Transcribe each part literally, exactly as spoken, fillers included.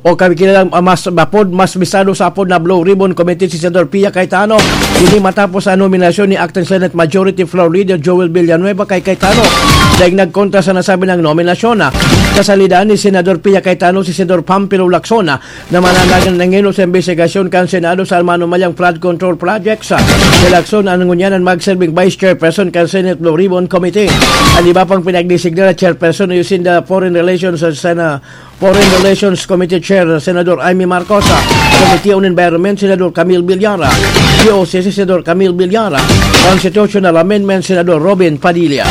o kakilalang, ah, mas apod, mas bistado sa apod na Blue Ribbon Committee si Senador Pia Cayetano. Ini matapos ang nominasyon ni Acting Senate Majority Floor Leader Joel Villanueva kay Cayetano dahil nagkontra sa nasabi ng nominasyon. Kasalidan ni Senador Pia Cayetano si Senador Pampilo Lacson na mananagan ng sa imbestigasyon kan Senado sa manumalyang flood control projects. Si Lacson ang ngunyan ang magserbing Vice Chairperson kan Senate Blue Ribbon Committee. Ang iba pang pinagdesignar na chairperson ay si Foreign Relations sa Sena-, Foreign Relations Committee Chair, Senador Imee Marcos, Committee on Environment, Senador Camille Villar, G O C C, Senador Camille Villar, Constitutional Amendment, Senador Robin Padilla.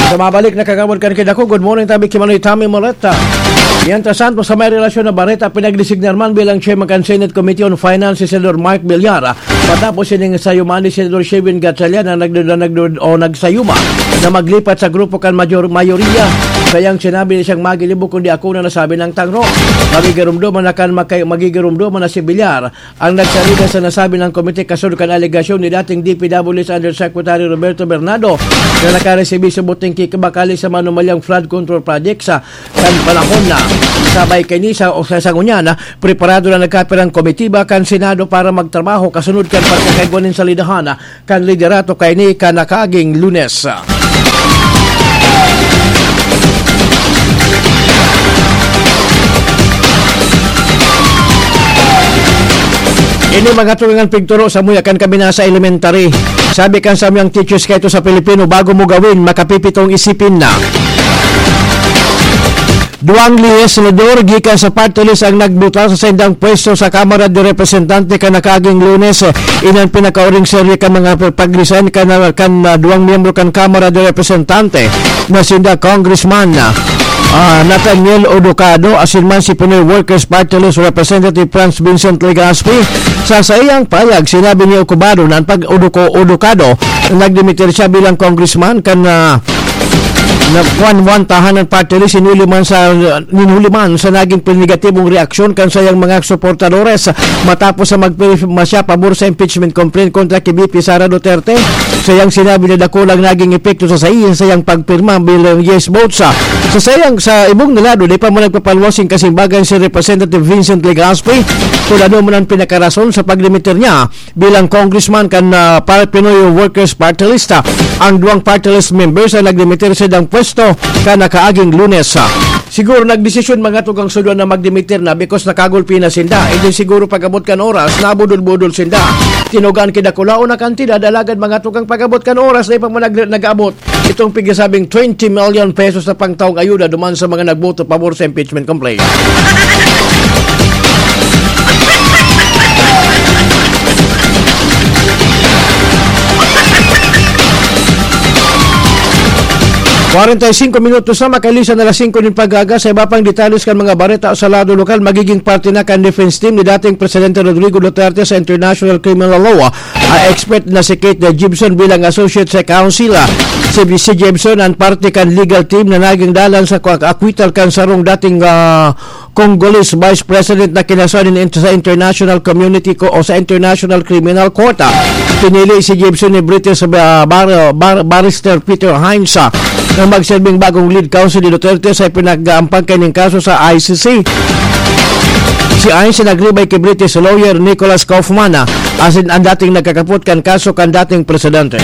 Sa mabalik na kagawad kan kidako, good morning, tabi ki Manoy Tommy Moreta. Mientras tanto, sa may relasyon na bareta, pinagdesignar man bilang chairman kan Senate Committee on Finance si Senador Mark Villar. Matapos sining sayuman ni Senador Sherwin Gatchalian na nagduda, nagduda o nagsayuma na maglipat sa grupo kan major, mayoriya. Kayang sinabi ni siyang magilibo kundi ako na nasabi ng tangro. Magigirumduman na kan makay, magigirumduman na si Villar ang nagsalida sa nasabi ng komite kasunod kan alegasyon ni dating D P W S Undersecretary Roberto Bernardo na nakaresibi sa buting kikibakali sa manumalyang flood control project sa kan panahon na sabay kaini sa o sa sangunyan na preparado na nagkapirang komitiba kan Senado para magtrabaho kasunod kan pagkakaigwa nin salidahan kan liderato kaini kan nakaaging Lunes. Ini mga tugang an pigturo sa muya kan kami nasa elementary. Sabi kan samuyang teachers kaito sa Pilipino, "Bago mo gawin, makapipitong isipin na." Duwang legislador gikan sa party list ang nagbutal sa saindang pwesto sa Kamara de Representante kan nakaaging Lunes. Inan pinakauring serye kan mga pag-resign kan, kan, ah, duwang miyembro kan Kamara de Representante na sinda Congressman, ah, Nathaniel Oducado asin man si Pinoy Workers Party List Representative Franz Vincent Legaspi. Sa saiyang pahayag, sinabi ni Ocubado na an pag-uduko-, Oducado, nagdimitir siya bilang congressman kan, ah, na kuwan-kuwan tahanan party list, hinuli man sa, hinuli man sa naging negatibong reaksyon kan sayang mga suportadores matapos sa magpirma siya pabor sa impeachment complaint kontra ki V P Sara Duterte. Sayang sinabi na dakulang naging epekto sa saiya, sayang pagpirma bilang yes vote sa, sa sayang sa ibong na lado, di pa man nagpapaluwas yung kasimbagan si Representative Vincent Legaspi kung ano man ang pinakarason sa paglimiter niya bilang congressman kan, ah, pa-, Pinoy Workers Party List. Ang duwang party list members ang nagdimitir sa ilang pwesto kan nakaaging Lunes. Siguro nagdesisyon mga tugang sudwan na magdimitir na because nakagulpi na sinda. Hindi siguro pag-abot kan oras, nabudol-budol sinda. Tinugaan kidakulaon na kantidad, alagad mga tugang pag-abot kan oras, na ipag nag-, nag-abot itong pigsasabing twenty million pesos na pangtaong ayuda duman sa mga nagboto pabor sa impeachment complaint. Kwarenta y singko minutos na makalisan na alas singko nin pag-aga. Sa iba pang detalles kan mga bareta sa lado lokal, magiging parte na kan defense team ni dating Presidente Rodrigo Duterte sa International Criminal Law. Ang expert na si Kate Gibson bilang associate sa counsel. Si, si Gibson ang parte kan legal team na naging dalan sa kwa-, acquittal kan sarong dating, ah, Congolese Vice President na kinasuhan nin, sa international community ko o sa International Criminal Court. Pinili si Gibson ni British, ah, bar-, bar-, Barrister Peter Hines, ah, na magsilbing bagong lead counsel ni Duterte sa pinag-aampang kaning kaso sa I C C. Si Hines nagribay ki British lawyer Nicholas Kaufman, ah, asin ang dating nagkakapot kan kaso kan dating presidente.